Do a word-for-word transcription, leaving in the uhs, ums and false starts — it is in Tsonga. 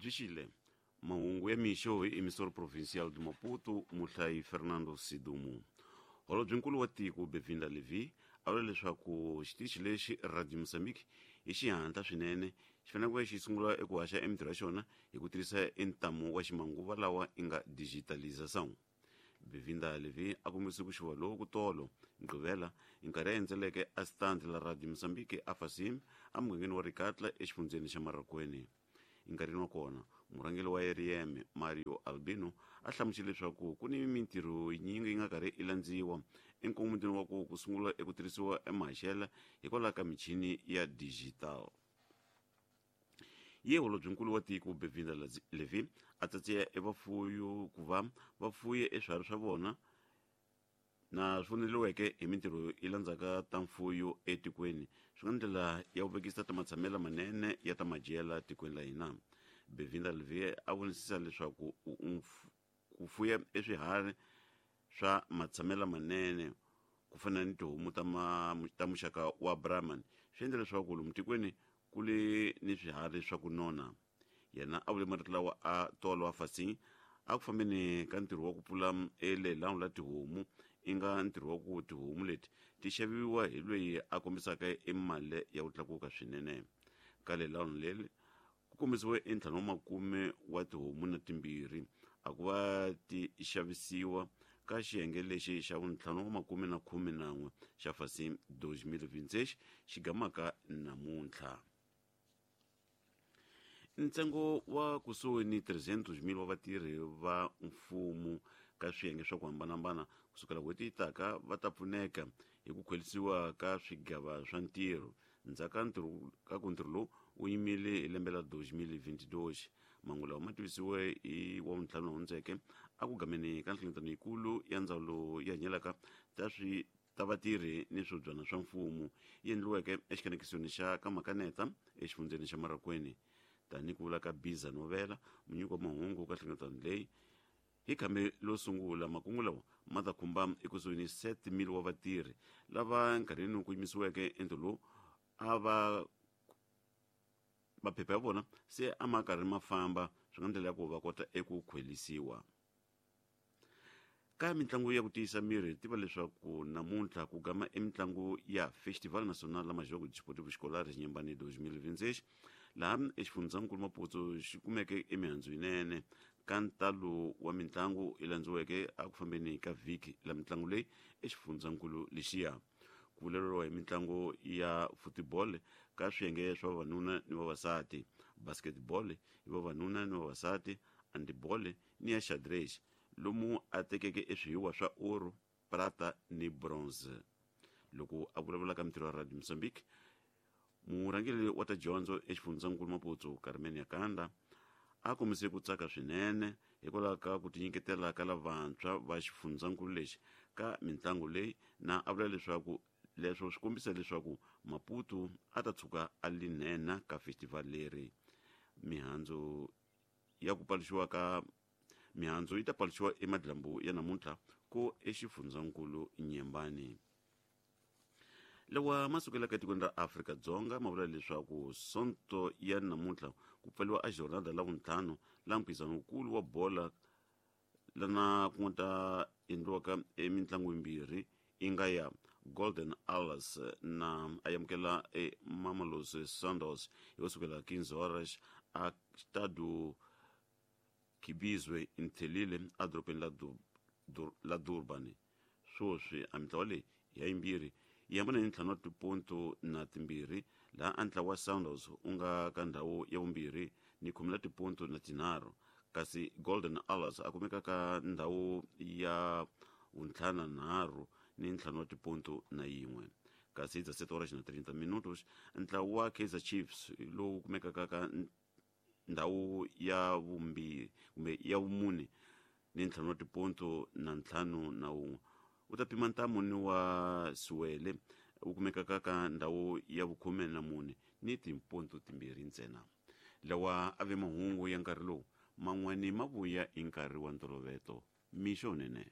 Byi xile mahungu ya mixo hi emissor provincial de Maputo, muhlayi Fernando Sidumu. Holobyenkulu wa tiko Bevinda Levi a vula leswaku xitichi lexi Radio Mozambique hi xihatla swinene xi fanele ku va xi sungula eku haxa emintirho ya xona hi ku tirhisa entamu wa ximanguva lawa i nga digitalization. Bevinda Levi a kombise ku xuva loku tolo Mugqivela nkarhi a endzeleke a stand la Radio Mozambique a Fasim emugangeni wa Rikatla exifundzheni xa Marracuene. Enkarhini wa kona murhangeri wa R M Mario Albino a hlamusele leswaku ku ni mintirho yinyingi yi nga karhi i landziwa enkongometweni wa ku ku sungula eku tirhisiwa emahaxela hikwalaho ka michini ya digital. Ye holobyenkulu wa tiko Bevinda Levi a tsatsiya evafuyi ku va va fuye eswiharhi swa vona na swi voneriweke hi mintirho yi landzaka ta mfuyo etikweni swi nga ndlela ya ku vekisa ta matshamelo manene ya ta madyela tikweni la hina. Bevinda Levi a vonisisa leswaku ku fuya eswiharhi swa matshamelo manene ku fana ni tihomu ta ta muxaka wa Brahman swi endla leswaku lomu tikweni ku le ni swiharhi swa ku nona. Yena a vule marito lawa a tolo wa Fasing a ku fambeni ka ntirho wa ku pfula elelano la tihomu i nga ntirho wa ku tihomu leti ti xaviwa hi loyi a kombisaka emali ya ku tlakuka swinene. Ka lelano leri ku kombisiwe entlhanu wa makume wa tihomu na timbirhi a ku va ti xavisiwa ka xiyenge lexi xa vuntlhanu wa makume na khume nan'we xa Fasim deux mille vingt-six xi gamaka namuntlha. Ntsengo wa kusuhi ni three hundred mil wa vatirhi va mfumo ka swiyenge swa ku hambanahambana kusukela n'hweti yi taka va ta pfuneka hi ku khwelisiwa ka swigava swa ntirho ndzhaku ka ntirho ka ku ntirho lowu wu yimile hi lembe la deux mille vingt-deux. Mahungu lawa ma tivisiwe hi wa vuntlhanu hundzeke a ku gameni ka nhlengeletano yikulu ya ndzawulo yi hanyelaka ta swi ta vatirhi ni swibyana swa mfumo yi endliweke exikanekisweni xa ka Makaneta exifundzheni xa Marracuene. Tanihi ku vula ka Biza Novela munyiki wa mahungu ka nhlengeletano leyi hi khambi lo sungula makungu lawa ma ta khumba ekusuhi ni sept mille wa vatirhi lava nkarhini ku yimisiweke entirho lowu a va maphepha ya vona se a ma karhi ma famba swi nga ndlela ya ku va kota eku khwelisiwa. Ka mitlangu ya ku tiyisa miri tiva leswaku namuntlha ku gama emitlangu ya Festival Nacional la Majogo Desportivo Escolar Xinyembani deux mille vingt-six laha exifundzhankulu Maputo xi kumeke emihandzu yinene ka ntalo wa mitlangu yi landziweke a ku fambeni ka vhiki la mitlangu leyi exifundzhankulu lexiya. Ku vulavuriwa hi mitlangu ya football ka swiyenge swa vavanuna ni vavasati, basketball hi vavanuna ni vavasati, handball ni ya xadrez lomu a tekeke eswihiwa swa oro, prata ni bronze. Loko a vulavula ka mintirho ya Radio Mozambique, murhangeri wa ta dyondzo exifundzhankulu Maputo Carmen Yakanda a kombise ku tsaka swinene hikwalaho ka ku tinyiketela ka lavantshwa va xifundzhankulu lexi ka mitlangu leyi na a vula leswaku leswo swi kombisa leswaku Maputo a ta tshuka a linena ka festival leri. Mihandzu ya ku paluxiwa ka mihandzu yi ta paluxiwa emadyambu ya namuntlha ko exifundzhankulu Nyembani. Lawa ma sukelaka etikweni ra Afrika-Dzonga ma vula leswaku sonto ya namuntlha ku pfariwa a jornada la vuntlhanu la mphikizano wukulu wa bola lana ku nga ta endliwaka emitlangu yimbirhi yi nga ya Golden Arrows na a amukela e Mamelodi Sundowns hi ku sukela quinze horas a Stade Khibizwe Nthelile edorobeni la la Durban. Sweswi a mitlawa leyi ya yimbirhi yi hambana hi ntlhanu wa tiponto na timbirhi laha a ntlawa wa Sundowns wu nga ka ndhawu ya vumbirhi ni khume la tiponto na tinharhu kasi Golden Arrows a kumeka ka ndhawu ya vuntlhanu nharhu ni ntlhanu wa tiponto na yin'we. Kasi hi dezessete horas na trinta minutos ntlawa wa Kaizer Chiefs lowu kumekaka ka ndhawu ya vumbirhi kumbe ya vumune ni ntlhanu wa tiponto na ntlhanu na wun'we wu ta pima ntamu ni wa Siwele wu kumekaka ka ndhawu ya vukhume na mune ni tiponto timbirhi ntsena. Lawa a ve mahungu ya nkarhi lowu man'wani ma vuya hi nkarhi wa ntolovelo. Mixo nene.